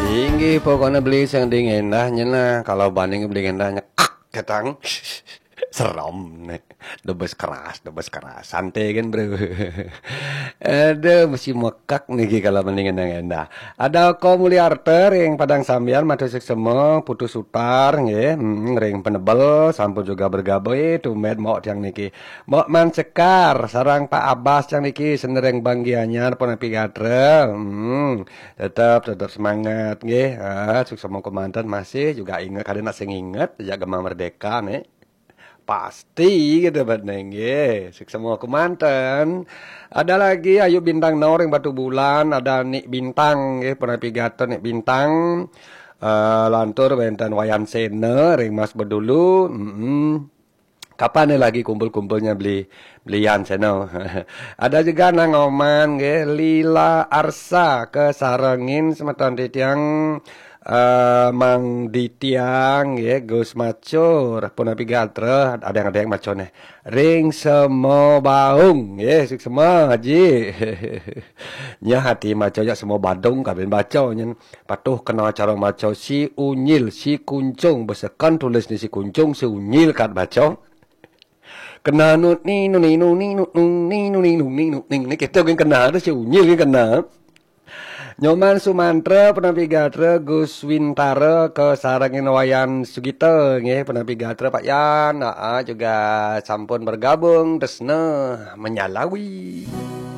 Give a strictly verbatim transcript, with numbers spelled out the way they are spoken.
Inggih, pokoknya beli sing ding endah nyen lah. Kalau banding beli endah nyekak ketang. Serem nih. Debes keras, debes keras. Santai kan, Bro. Aduh, mesti mekak nih kalau mendingan yang endah. Ada Ko Mulyarta ring Padang Sambian, matur suksema, Putu Sutar nggih. Hmm, ring Penebel sampun juga bergabung. Eh, tumben mok tiang niki. Mok Man Sekar, sareng Pak Abbas tiang niki, seneng ring Bang Gianyar punapi gatra. Hmm, tetap tetap semangat nggih. Ah, suksema kemanten, masih juga inget, kadang nak sing inget ya Gema Merdeka nih. Pasti gitu bet nggih. Suksema kemanten. Ada lagi Ayu Bintang Nor ring Batubulan, ada Nik Bintang nggih, punapi gatra Nik Bintang. Eh, lantur wenten Wayan Sena ring Mas Bedulu. Mm-mm. Kapan nih lagi kumpul-kumpulnya beli belian Sena? Ada juga Nang Oman nggih, Lila Arsa, kesarengin semeton titiang, eh, Mang Ditiang nggih, Gus Macur, punapi gatra, ada yang ada yang maco nih. Ring Sema Baung nggih, suksema Haji. Nya hati maco ya Sema Badung, kabin baco nyen. Patuh kena cara maco si unyil, si kuncung, beseken tulis ni si kuncung, si unyil kat baco. Kena nu ni nu ni nu ni nu nu ni nu ni nu ni nu ni ni kita gin kena tu si unyil gin kena. Nyoman Sumantra, punapi gatra, Gus Wintara, kesarengin Wayan Sugita nggih, punapi gatra Pak Yan. Aa, juga sampun bergabung, tresna menyalawi.